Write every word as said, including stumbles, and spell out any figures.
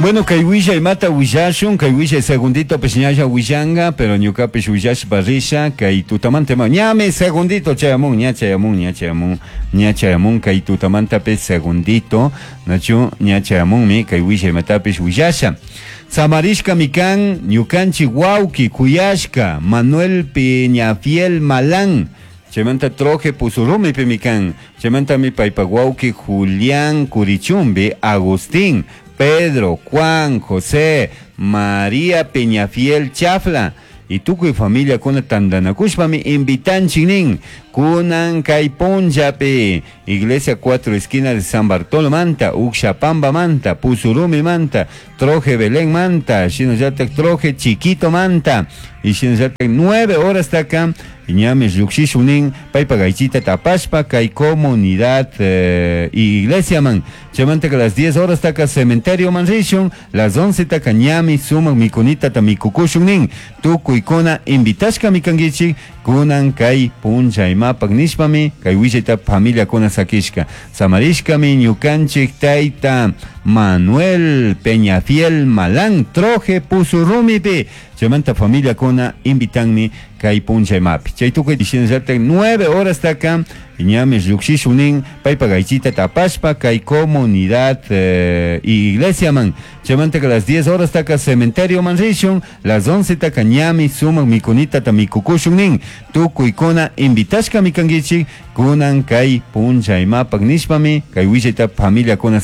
Bueno, kay willay mata willashun, kay willay segundito pues ñalla willanga, pero ñukapish willashpa risha, kay tutamanta ma ñami segundito chayamun, ña chayamun, ña chayamun, ña chayamun, kay tutamanta segundito, nachu ña chayamunmi, kay willay matapish willasha. Samarishka mikan, ñukanchik wawki, kuyashka, Manuel Peñafiel Malán, Chaymanta Troje Pusurumi pimikan, chaymanta mi paypak wawki Julián Curichumbi, Agustín, Pedro, Juan, José, María Peñafiel Chafla, y tukuy familia kuna tandanakushpami invitanchik nin kunan kay punllapi iglesia cuatro esquinas de San Bartolo manta Uxapamba manta Pusurumi manta Troje Belén manta shinallatak Troje Chiquito manta y shinallatak nueve horas taka ñami llukshishun nin paypak aychita tapashpa kay comunidad eh, iglesia man chaymanta que las diez horas taka cementerio man rishun las once taka ñami sumak mikunita ta mikukushun nin tukuykuna invitashkami kankichik kunan kay punlla imapak nishpami kay willayta familiakuna sakishka samarishkami ñukanchik tayta Manuel Peñafiel Malán Troje Pusurrumipi chaymanta familiakuna invitanmi kay punlla imapi chay tukuy shinallatak nueve horas taka ñami llukshishun nin paypak aychita tapashpa kay comunidad eh, iglesia man chaymanta que las diez horas taka cementerio man rishun las once taka ñami sumak mikunita ta mikukushun nin tukuykuna invitashkami kankichik kunan kay punlla imapak nishpami kay willayta familiakuna